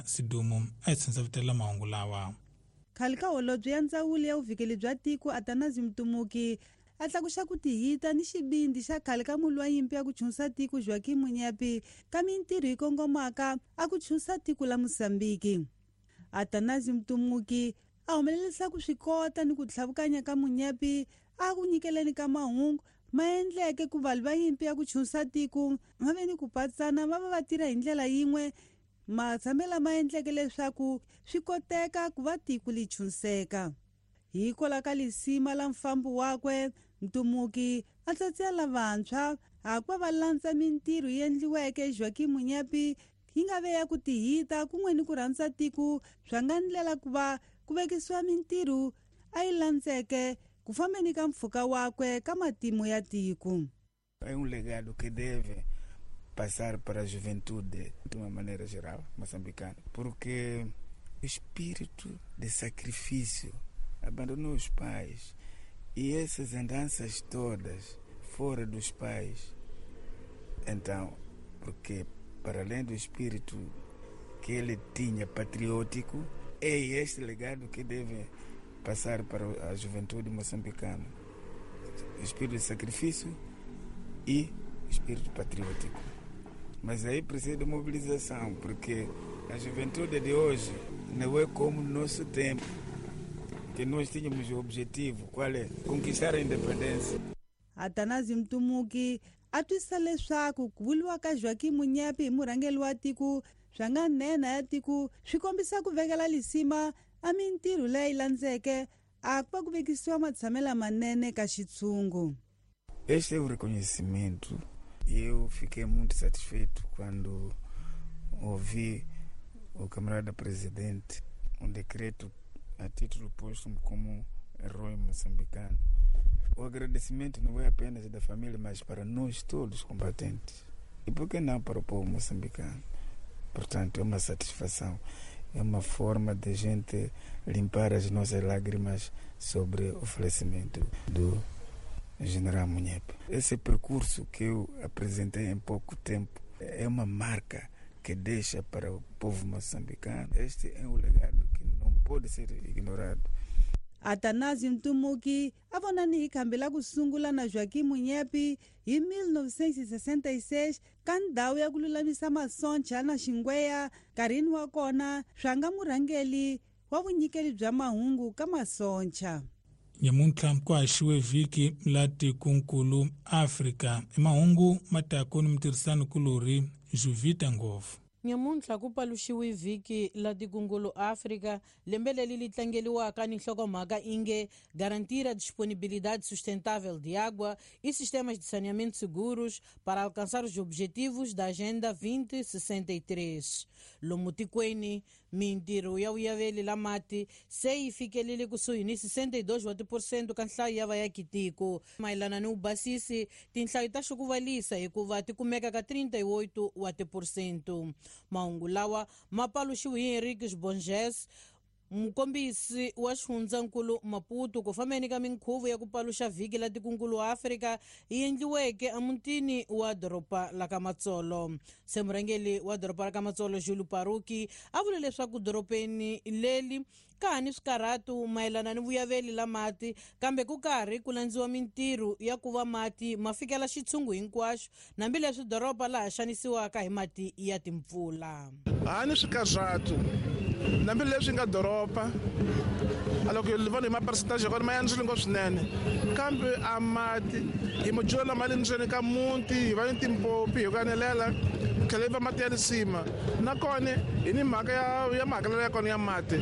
Sidumo a hi tshindzavutela mahungu lawa. Khale ka holobye ya ndzawulo ya vuvikeli bya tiko Atanasio Mtumuki a tlakuxa ku tihita ni xivindzi xa khale ka mulwi wa nyimpi ya ku chunsa tiko Joaquim Munyepi ka mintirho yi kongomaka a ku chunsa tiko la Mozambiki. Atanasio Mtumuki a humelerisa ku swi kota ni ku tlhavukanya ka Munyepi a ku nyikeleni ka mahungu ma endleke ku valwi va nyimpi ya ku chunsa tiko va ve ni ku patsana va va va tirha hi ndlela yin'we matshamelo lama endleke leswaku swi koteka ku va tiko li chunseka. Hikwalaho ka lisima la mfambo wakwe, Mtumuki a tsatsela lavantshwa hakuva va landza mintirho yi endliweke Joaquim Munyepi yi nga ve ya ku tihita kun'we ni ku rhandza tiko swa nga ndlela ku va ku vekisiwa mintirho a yi landzeke ku fambeni ka mpfhuka wakwe ka matimu ya tiko. É um legado que deve passar para a juventude de uma maneira geral moçambicana, porque o espírito de sacrifício abandonou os pais e essas andanças todas fora dos pais. Então, porque para além do espírito que ele tinha patriótico, é este legado que deve passar para a juventude moçambicana. O espírito de sacrifício e o espírito patriótico. Mas aí precisa de mobilização, porque a juventude de hoje não é como no nosso tempo, que nós tínhamos o objetivo, qual é? Conquistar a independência. Atanasio Mtumuki a twisisa leswaku ku vuriwa ka Joaquim Munyepi hi murhangeri wa tiko swa nga nhenha ya tiko swi kombisa ku vekela lisima a mintirho leyi landzeke a ku va ku vekisiwa matshamelo lamanene ka xitshungu. Este é o reconhecimento e eu fiquei muito satisfeito quando ouvi o camarada presidente um decreto a título póstumo como herói moçambicano. O agradecimento não é apenas da família, mas para nós todos combatentes. E por que não para o povo moçambicano? Portanto, é uma satisfação, é uma forma de gente limpar as nossas lágrimas sobre o falecimento do general Munyepe. Esse percurso que eu apresentei em pouco tempo é uma marca que deixa para o povo moçambicano. Este é um legado que não pode ser ignorado. Atanasio Mtumuki a vonani hi khambi la ku sungula na Joaquim Munyepi hi 1966 ka ndhawu ya ku lulamisa masoncha na xingweya nkarhini wa kona swa nga murhangeli wa vunyikeli bya mahungu ka masoncha. Nyamuntlha ku haxiwe vhiki la tikunkulu Afrika i mahungu matako ni mutirhisani kulorhi Juvita Ngopfu. Nyamuntlha ku paluxiwe vhiki la tikungulu Afrika lembe leri li tlangeliwaka ni nhlokomhaka inge garantir a disponibilidade sustentável de água e sistemas de saneamento seguros para alcançar os objetivos da Agenda 2063. Lomu tikweni mintirho ya vuyaveli la mati se yi fikelele kusuhi ni 62 wa tiphesente ka nhlayo ya vayakitiko. Mayelana ni vubasisi tinhlayo ta xukuvalisa hikuva ti kumeka ka 38 wa tiphesente. Mahungu lawa ma paluxiwe hi Henriques Borges, mukombisi wa xifundzankulu Maputo, ku fambeni ka minkhuvo ya ku paluxa vhiki la tikunkulu wa Afrika yi endliweke emutini wa doroba la ka Matsolo. Se murhangeri wa doroba la ka Matsolo Julu Paruki a vule leswaku dorobeni leri ka ha ni swikarhatu mayelana ni vuyaveli la mati, kambe ku karhi ku landziwa mintirho ya ku va mati ma fikela xitshungu hinkwaxo hambileswi doroba laha xanisiwaka hi mati ya timpfula. Ha ni swikarhatu hambileswi nga doroba loko hi vona hi ma-percentage ya kona ma yandzile ngopfu swinene, kambe a mati hi mujula lama le ndzeni ka muti hi va ni timpopi hi ku anelela tlhela yi va mati ya lisima. Nakona hi ni mhaka ya mahakelelo ya kona ya mati.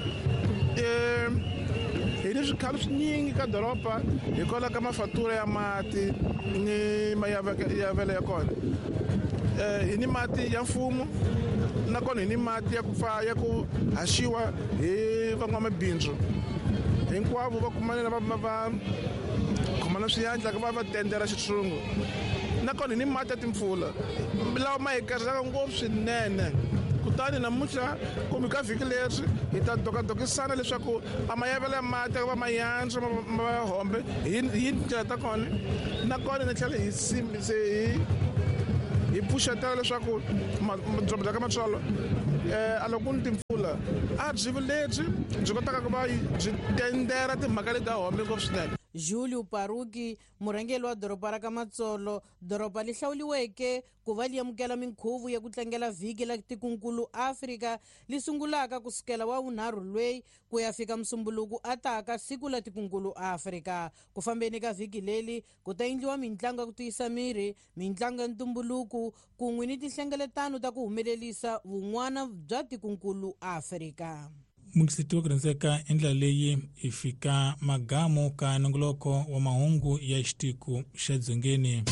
Hi ni swikhalo swinyingi ka doroba hikwalaho ka mafatura ya mati ni mayavelo ya kona. Hi ni mati ya mfumo nakona hi ni mati ya ku pfa ya ku haxiwa hi van'wamabindzu hinkwavo va kumanela va khomana swiyandla va va tendela xitshungu. Nakona hi ni mati ya timpfula lawa ma hi karhelaka ngopfu swinene. Kutani namuntlha kumbe ka vhiki leri hi ta dokadokisana leswaku a mayavelo ya mati va mayandzwa ma hombe hi tindlela ta kona. Nakona ni tlhela hi hi pfuxetela leswaku doroba ra ka Matsolo A loko ku ni timpfula a byi lebyi byi kotaka ku va byi tendera timhaka leti a home ngopfu swinene. Julio Paruki, murhangeri wa doroba ra ka Matsolo, doroba li hlawuliweke ku va li amukela minkhuvo ya ku tlangela vhiki la tikunkulu Afrika li sungulaka ku sukela wa vunharhu lweyi ku ya fika musumbuluku ataka siku la tikunkulu Afrika. Ku fambeni ka vhiki leli ku ta endliwa mintlangu ya ku tiyisa miri, mintlangu ya ntumbuluko kun'we ni tinhlengeletano ta ku humelerisa vun'wana bya tikunkulu Afrika. Mukisiti wa ku rhandzeka i ndlela leyi hi fika magamu ka nongoloko wa mahungu ya xitiku xa dzongeni.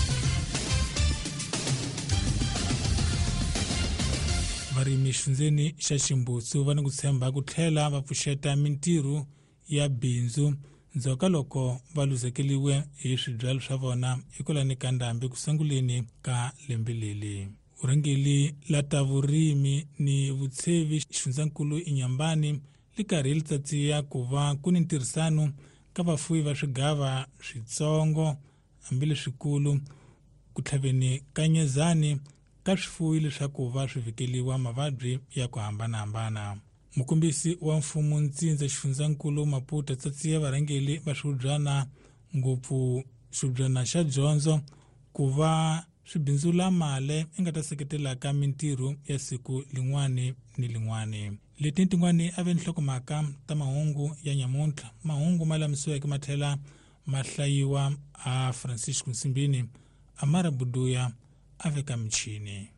Varimi xifundzeni xa Ximbutsu va ni ku tshemba ku tlhela va pfuxeta mintirho ya bindzu ndzhaku ka loko va luzekeliwe hi swibyalo swa vona hikwalani ka ndhambi ku sunguleni ka lembe leli. Vurhangeri la ta vurimi ni vutshevi xifundzankulu Inyambani li karhi li tsatsiya ku va ku ni ntirhisano ka vafuwi va swigava switsongo hambileswikulu ku tlhaveni ka nyezani ka swifuwi leswaku va swi vhikeliwa mavabyi ya ku hambanahambana. Mukombisi wa mfumo ntsindza xifundzankulu Maputo tsatsiya varhangeri va swihubyana ngopfu xihubyana xa dyondzo ku va swi bindzula mali i nga ta seketelaka mintirho ya siku lin'wani ni lin'wani. Leti ni tin'wani a ve nhlokomhaka ta mahungu ya nyamuntlha. Mahungu ma lamisiweke ma tlhela ma hlayiwa a Francisco Nsimbini, Amara Buduya a veka michini.